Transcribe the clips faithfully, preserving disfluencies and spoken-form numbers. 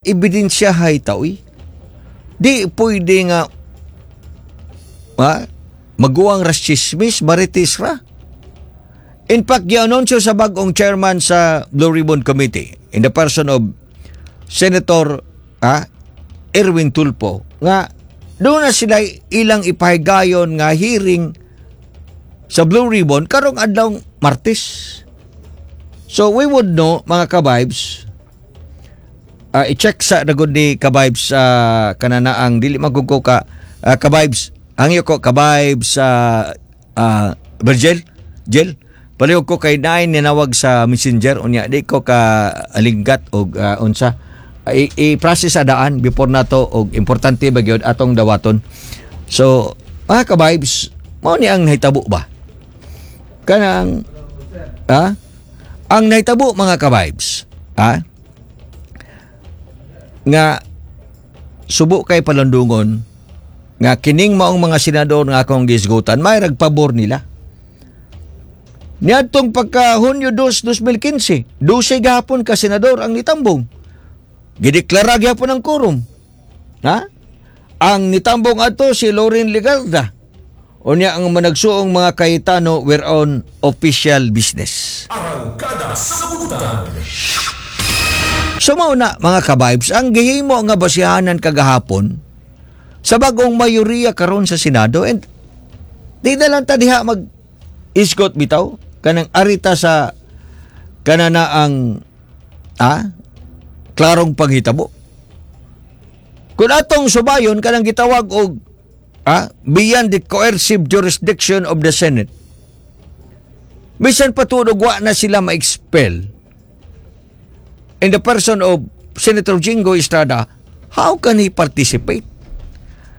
Ebidensyahay ta uy. Di pwede nga ha, maguwang ras chismis, marites ra. In fact, gianunsyo sa bagong chairman sa Blue Ribbon Committee in the person of Senator ah, Erwin Tulfo nga doon na sila ilang ipahigayon nga hearing sa Blue Ribbon karong adlaw Martes. So we would know, mga kabibes, uh, i-check sa nagod ni kabibes sa uh, kananaang dili magugo ka uh, kabibes hangyo ko kabibes sa uh, uh, Virgil Jill, palihog ko kay naay ninawag sa Messenger unya di ko ka alinggat og uh, unsa I- i-process sa daan before nato og importante ba gyud atong dawaton. So mga kabibes, mao ni ang nahitabo ba kanang ha, ang nahitabo, mga kabibes, ha, nga subo kay palundungon nga kining maong mga senador nga akong gisgutan may pabor nila niadtong pagka Hunyo two, twenty fifteen, dose gahapon ka senador ang nitambong. Gideklara gyapon ang quorum, ha. Ang nitambong adto si Loren Legarda. Unya ang managsuong mga Cayetano were on official business. Arangkada sa Butan. So mao na, mga kabibes, ang gihimo nga basihanan kagahapon sa bagong mayoriya karon sa Senado, and di na lang ta diha mag isgot bitaw kanang arita sa kanana ang ah, klarong panghitabo. Kung atong subayon kanang gitawag og ah, beyond the coercive jurisdiction of the Senate. Bisan patunog wa na sila ma-expel in the person of Senator Jinggoy Estrada, how can he participate?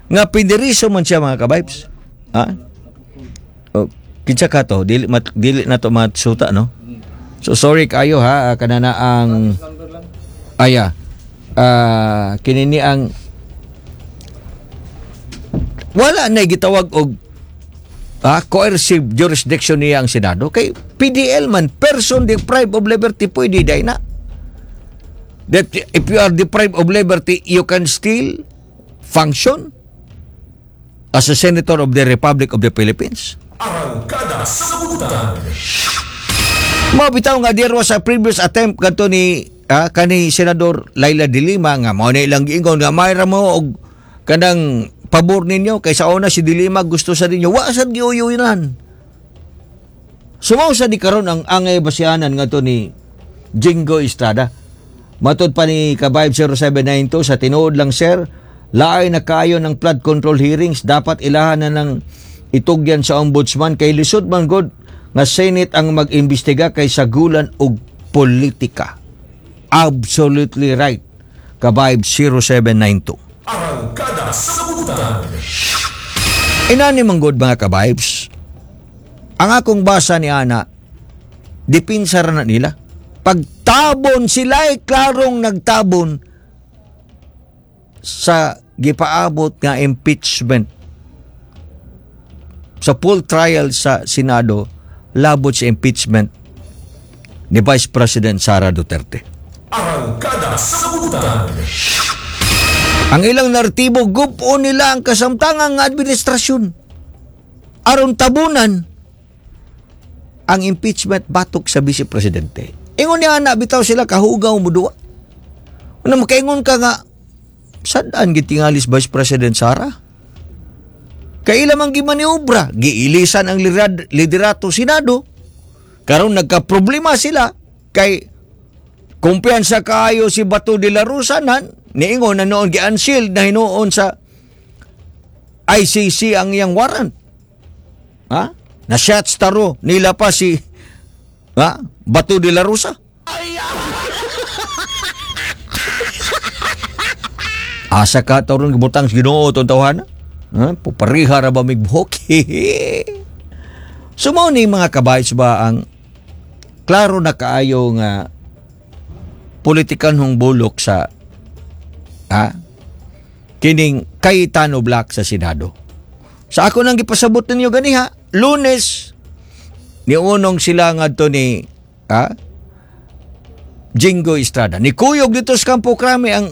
Nga piniriso man siya, mga kabibes. Ha? O, kinsa ka to? Dili, mat, dili na to matsuta, no? So sorry kayo ha, kanana ang aya. Ah, kinini ang wala na gitawag og ah, coercive jurisdiction niya ang Senado kay P D L man, person deprived of liberty, pwede day na that if you are deprived of liberty, you can still function as a senator of the Republic of the Philippines. Arangkada sa Butan. Mao bitaw nga there was a previous attempt kadto ni ah, kani Senador Leila de Lima nga mao na ilang giingon nga mayra mo og kanang pabor ninyo kay sa una si de Lima gusto sa ninyo, wa sad giuyunan. Sumaw sa di karon ang angay basihanan ngadto ni Jinggoy Estrada. Matod pa ni Kabayb zero seven nine two, sa tinuod lang sir, laay na kayo ng flood control hearings, dapat ilahan na ng itugyan sa ombudsman kay lisod man god nga Senate ang mag-imbestiga kay sagulan og politika. Absolutely right. Kabayb zero seven nine two. Arangkada sa Butan. Inani man gud, mga kabibes, ang akong basa ni ana, dipinsa ra na nila. Pagtabon sila ay klarong nagtabon sa gipaabot nga impeachment sa full trial sa Senado labot sa impeachment ni Vice President Sara Duterte. Arangkada sa Butan. Ang ilang naratibo, gupo nila ang kasamtangang administrasyon aron tabunan ang impeachment batok sa Vice Presidente. Ingon niya na bitaw sila kahugaw mo duwa. Una makaingon ka nga sad-an gitingalis Vice President Sara. Kay ila man gimaniobra, giilisan ang lirad, liderato Senado. Karon nagka-problema sila kay kumpiyansa kaayo si Bato de la Rosa nan niingon na noon gi-unsealed na hinuon sa I C C ang iyang warrant. Ha? Na shots taro nila pa si ha? Bato de la Rosa. Asa ka taron gibutang sa Ginoo tong tawhana? Ha? Pupariha ra ba mig buhok? So mao ni, mga kabayts ba, ang klaro na kaayo nga politikanhong bulok sa ha, kining Cayetano Bloc sa Senado. Sa ako nang gipasabot ninyo ganiha, Lunes niunong sila ngadto ni ha, Jinggoy Estrada. Nikuyog dito sa Campo Crame ang